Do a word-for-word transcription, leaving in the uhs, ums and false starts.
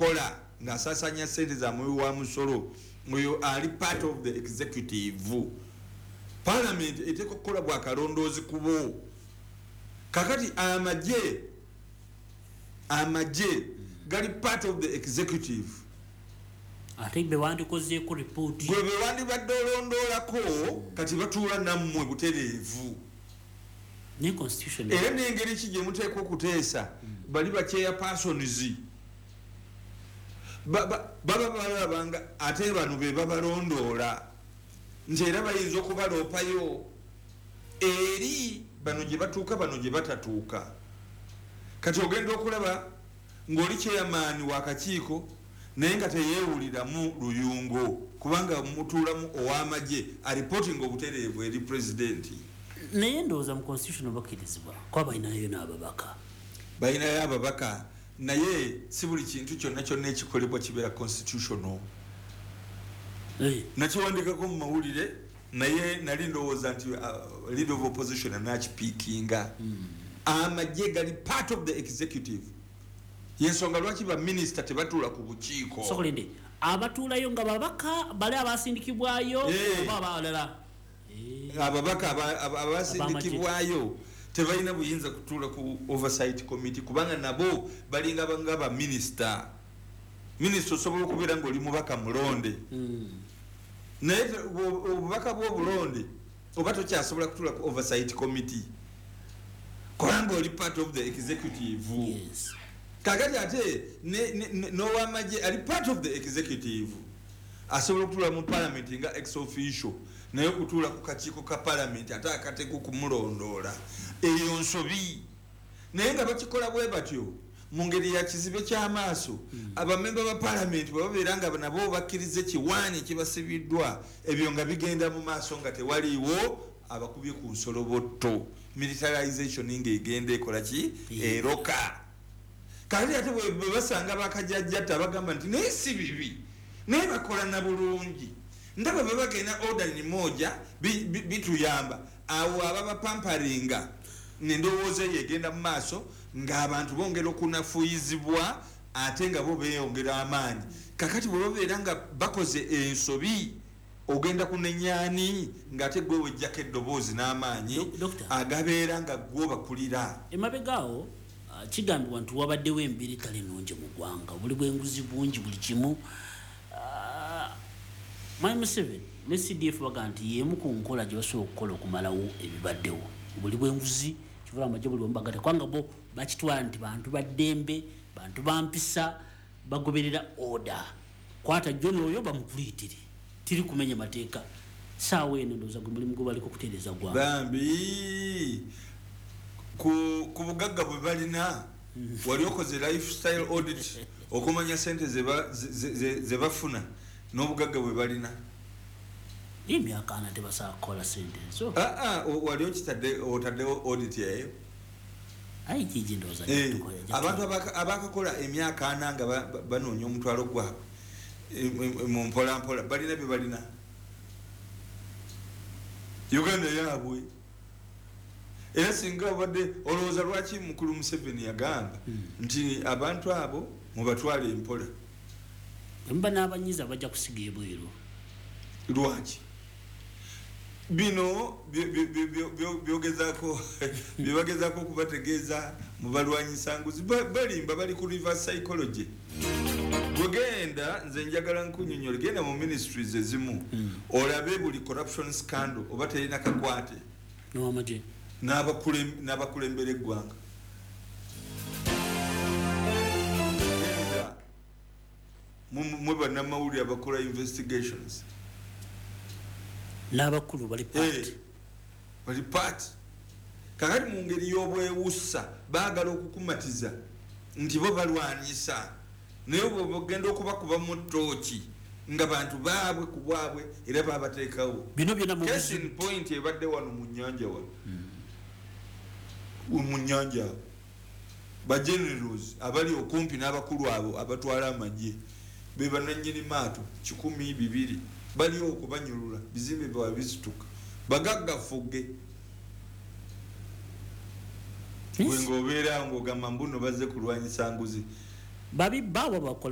nkola ng'asaasaanya sente za muwi wa musolo, oyo ali part of the executive. Parliament eteeka okukola bwakalondoozi kubo. Kakati amagye amagye gali part of the executive. Ate be wandikozeeko ripooti. Gwe be wandibadde olondoolako, kati batuula nammwe butereevu. Ne constitution. Era n'engeri ki gye muteeka okuteesa, bali ba chairpersons baba balabanga ate bano be babalondoola, nti era bayinza okubaloopayo eri bano gye batuuka, bano gye batatuuka. Kati ogenda okulaba ng'oli chairman w'akakiiko naye nga teyeewuliramu luyungo, kubanga mutuulamu ow'amagye areporting obutereevu eri pulezidenti. Naye ndowooza mu constitution bakkirizibwa kuba balinayo n'ababaka. Balinayo ababaka, naye si buli kintu kyonna kyonna ekikolebwa kibeera constitutional. Eh. Nakiwandikako mu mawulire, naye nali ndowooza nti uh, leader of opposition anakipiikinga. Amagye gali part of the executive, yensonga lwaki baminisita tebatuula ku bukiiko. Sokolinde, abatuulayo nga babaka bali abasindikibwayo Eh. oba abalala? Eh. Ababaka aba- aba- abasindikibwayo tebalina buyinza kutuula ku oversight committee, kubanga nabo balinga nga baminisita. Minisita osobola okubeera nga oli mubaka mulonde, Mm. naye te- obwo- obubaka bw'obulonde oba tokyasobola kutuula ku oversight committee kubanga oli part of the executive. Yes. Kakati ate ne- ne- ne- n'owamagye ali part of the executive asobola okutuula mu parliament nga ex officio, naye okutuula ku kakiiko ka parliament ate akateeka okumulondoola, eyo nsobi. Naye nga bakikola bwe batyo mu ngeri ya kizibe ky'amaaso. Abamemba ba parliament bwe babeera nga nabo bakkiriza ekiwaani ekibasibiddwa, ebyo nga bigenda mu maaso nga tewaliiwo abakubye ku nsolobotto. Militarization ng'egenda ekola ki? Eroka. Kakati ate bwe bwe basanga bakajajjatta bagamba nti naye si bibi, naye bakola na bulungi, ndaba bwe bagenda order ni moja, bi- bi- bituyamba. Awo ababapamparinga nendowooza eyo egenda mu maaso ng'abantu bongera okunafuuyizibwa, ate nga bo beeyongera amaanyi. Kakati bwe babeera nga bakoze ensobi, ogenda kunenyaani ng'ate gwe wejjako eddoboozi n'amaanyi Dok- Doctor. agabeera nga gwe obakulira? Emabega awo, ah, kigambibwa nti wabaddewo embeera etali nnungi mu ggwanga, buli bwenguzi bungi, buli kimu. Ah, mwami Museveni ne C D F baga nti yemu ku nkola gye basobola okukola okumalawo ebibaddewo, buli bwenguzi, kivula amagye buli wamu bagata, kubanga bo bakitwala nti bantu baddembe, bantu bampisa, bagoberera order. Kwata joni oyo bamukuliitire, tiri kumenya mateeka. Saawa eno ndowooza gwe mulimu gwe baliko okutereeza gwanga. Bambi, ku, ku bugagga bwe balina, wali okoze lifestyle audit okumanya sente ze ba- ze- ze- ze- ze bafuna n'obugagga bwe balina? Emyaka ana tebasobola kukola sente ezo. Ah, ah, o- wali okitadde, otaddewo audit eyo? Ayi, kigi ndowooza Eh, tukola- abantu abaka- abakakola emyaka ana nga ba- ba- banoonya omutwalo gwabwe eh, eh, mu mpolampola, balina bye balina. Uganda yaabwe. Era singa obadde olowooza lwaki mukulu Museveni yagamba nti abantu abo mubatwale empola? Bwemuba n'abanyiza bajja kusiga ebweru. Lwaki bino byo- byo- byo- byo- byo- byogezaako byebagezaako okubategeeza mubalwanyisa nguzi? Ba- balimba, bali ku reverse psychology. Bwegenda, nze njagala nkunyonyola, genda mu ministries ezimu olabe buli corruption scandal oba terina kakwate nowamagye n'abakulem- n'abakulembera eggwanga. Genda mu- mwe bannamawulire abakola investigations. N'abakulu bali Eh, part. Bali part. Kakati mu ngeri y'obwewussa baagala okukumatiza nti bo balwanyisa, naye bwe bagenda okubakuba mu ttooki nga bantu baabwe ku bwabwe era babateekawo. Bino byonna mu Case in point ebadde wano mu nyanja, wano mu nyanja awo, ba generals abali okumpi n'abakulu abo abatwala amagye be bananyini maato kikumi bibiri bali okubanyulula, bizimbe bwabwe bizituka, bagagga fugge. Yes. Gwe ng'obeera ng'ogamba mbuno bazze kulwanyisa nguzi. Babibba abo bakola.